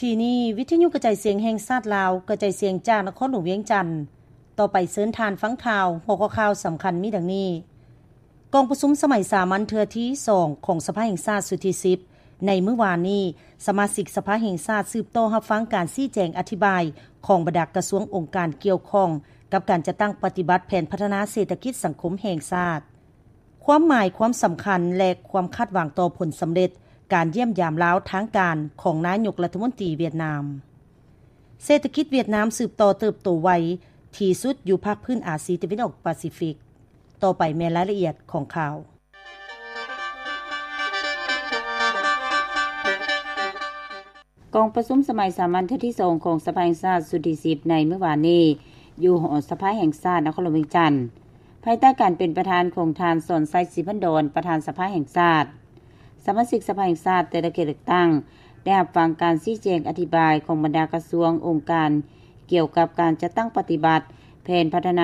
ທີ່ນີ້ ວິທະຍຸກະຈາຍສຽງແຫ່ງຊາດລາວ ກະຈາຍສຽງຈາກນະຄອນຫຼວງວຽງຈັນ. ຕໍ່ໄປເຊີນທ່ານຟັງຂ່າວ. ຫົວຂໍ້ຂ່າວສຳຄັນມີດັ່ງນີ້: ກອງປະຊຸມສະໄໝສາມັນເທື່ອທີສອງຂອງສະພາແຫ່ງຊາດຊຸດທີສິບ ໃນມື້ວານນີ້, ສະມາຊິກສະພາແຫ່ງຊາດສືບຕໍ່ຮັບຟັງການຊີ້ແຈງອະທິບາຍຂອງບັນດາກະຊວງອົງການກ່ຽວຂ້ອງກັບການຈັດຕັ້ງປະຕິບັດແຜນພັດທະນາເສດຖະກິດສັງຄົມແຫ່ງຊາດ. ຄວາມໝາຍຄວາມສຳຄັນ ແລະ ຄວາມຄາດຫວັງຕໍ່ຜົນສຳເລັດການຢ້ຽມຢາມລາວທາງການຂອງນາຍົກລັດຖະມົນຕີຫວຽດນາມ. ເສດຖະກິດຫວຽດນາມສືບຕໍ່ເຕີບໂຕໄວທີ່ສຸດຢູ່ພາກພື້ນອາຊີຕາເວັນອອກປາຊີຟິກ. ຕໍ່ໄປແມ່ນລາຍລະອຽດຂອງຂ່າວ. ກອງປະຊຸມສະໄໝສາມັນເທື່ອທີສອງຂອງສະພາແຫ່ງຊາດຊຸດທີສິບ ໃນມື້ວານນີ້ ຢູ່ຫໍສະພາແຫ່ງຊາດນະຄອນຫຼວງວຽງຈັນ ພາຍໃຕ້ການເປັນປະທານຂອງທ່ານ ສອນໄຊ ສີພັນດອນ ປະທານສະພາແຫ່ງຊາດ. ສະມາຊິກສະພາແຫ່ງຊາດແຕ່ລະເຂດເລືອກຕັ້ງ ໄດ້ຮັບຟັງການຊີ້ແຈງອະທິບາຍຂອງບັນດາກະຊວງ, ອົງການ ກ່ຽວກັບການຈັດຕັ້ງປະຕິບັດແຜນພັດທະນາ